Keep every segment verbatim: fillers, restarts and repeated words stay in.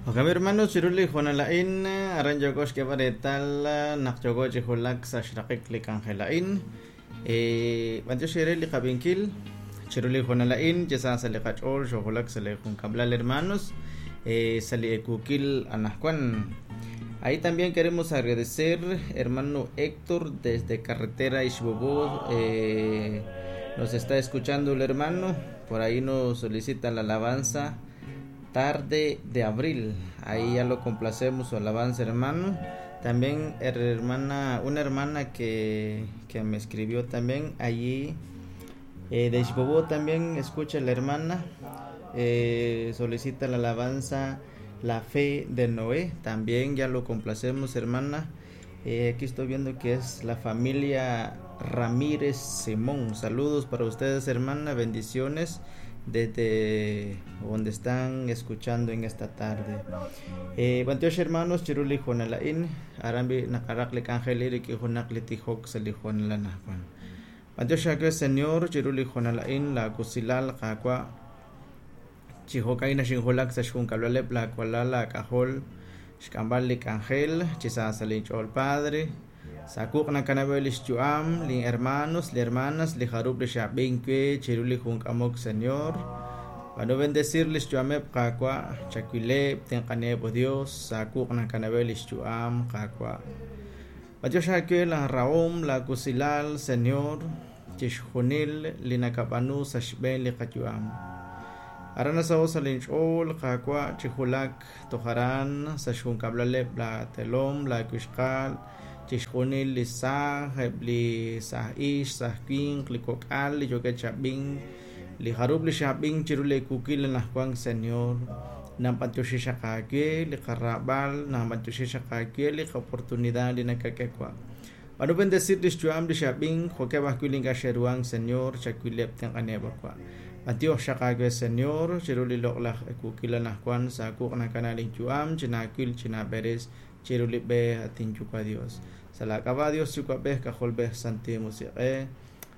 Jo'kan hermanos, chiru li hoonal a'in, aran yooko xk'eeb'al reetal naq yooko chi wulak sa' xraqik li k'anjel a'in. B'antiox eere li qab'inkil, chiru li hoonal a'in, chi sa sa' li qach'ool xoowulak sa' li junkab'lal hermanos, sa' li ekuukil anajwan. Ahí también queremos agradecer, hermano Héctor, desde Carretera Ixbobó, eh, nos está escuchando el hermano, por ahí nos solicita la alabanza Tarde de Abril. Ahí ya lo complacemos su alabanza, hermano. También hermana, una hermana que, que me escribió también allí eh, de Ixbobó también escucha la hermana, eh, solicita la alabanza La Fe de Noé. También ya lo complacemos, hermana. Eh, aquí estoy viendo que es la familia Ramírez Simón. Saludos para ustedes, hermana. Bendiciones desde donde están escuchando en esta tarde. Eh, b'antiox hermanos, chiru li hoonal a'in, aran bi naqaraq li k'anjel rik'in junaq li tijok sa' li hoonal anajwan. B'antiox aawe, Señor, chiru li hoonal a'in, la kusilal qaawa' chi jo'kan naxinjulak sa' xjunkab'laleb' la walal la k'ajol xk'amb'al li k'anjel chi sa sa' linch'ool Padre. Sakuq nakanab'e li xyu'am, li hermanos, li hermanas, li jarub' li xab'in we chiru li junk'amok, Señor. B'anu bendecir li xyu'ameb' qaawa', chawileb', tenq'aneb', oh Dios, sakuq nakanab'e li xyu'am qaawa'. B'antiox aawe la rahom, la kusilal, Señor, chixjunil li nakab'anu sa' xb'een li qayu'am. Aran nasaho sa' linch'ool qaawa' chi julak tojaran sa' xjunkab'laleb' la telom, la wixqal, chixjunil li saaj, eb' li saaj ix, saaj winq, li kok'al, li yookeb' xab'in, li jarub' li xab'in chiru li kuukil anajwan, Señor. Namp'antioxi xaq aawe li qarab'al, namp'antioxi xaq aawe li oportunidad li nakak'e wa'. B'anu bendecir li xyu'am li xab'in, jo'keb' ajwi' li ink'a' xe'ruhan, Señor, chawileb' tenq'aneb' wa'. B'antiox xaq aawe, Señor, chiru li loq'laj kuukil anajwan, saakuq nakana linyu'am, chinaawil, chinaab'eres, chiru li b'e atin yuwa' Dios. Sa la k'ab'a' Dios yuwa'b'ej k'ajolb'ej Santil Musiq'ej.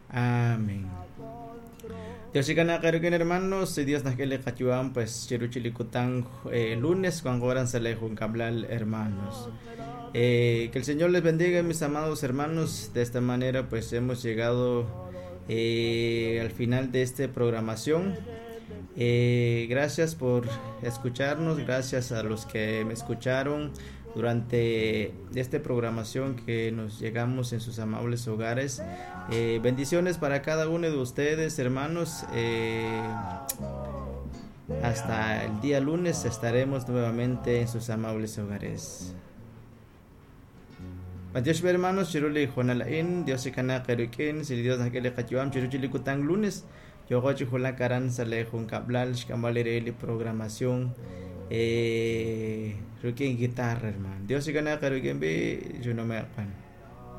Amén. Dios ikanaqerukin hermanos, si Dios nak'e li qayu'am, pues chiru chilikutang eh, lunes cuando sa le junkablal hermanos. Eh, que el Señor les bendiga, mis amados hermanos. De esta manera, pues hemos llegado eh, al final de esta programación. Eh, gracias por escucharnos, gracias a los que me escucharon durante esta programación que nos llegamos en sus amables hogares. Eh, bendiciones para cada uno de ustedes, hermanos. Eh, hasta el día lunes estaremos nuevamente en sus amables hogares. B'antiox hermanos, chiru li hoonal a'in, Dios ikanaq eerik'in, si Dios nak'e li qayu'am, chiru chilikutang lunes, yooko chi julak aran sa' li junkab'lal xk'amb'al re li programación eh, rik'in guitarra, hermano. Dios ikanaq eerik'in bi, yo no me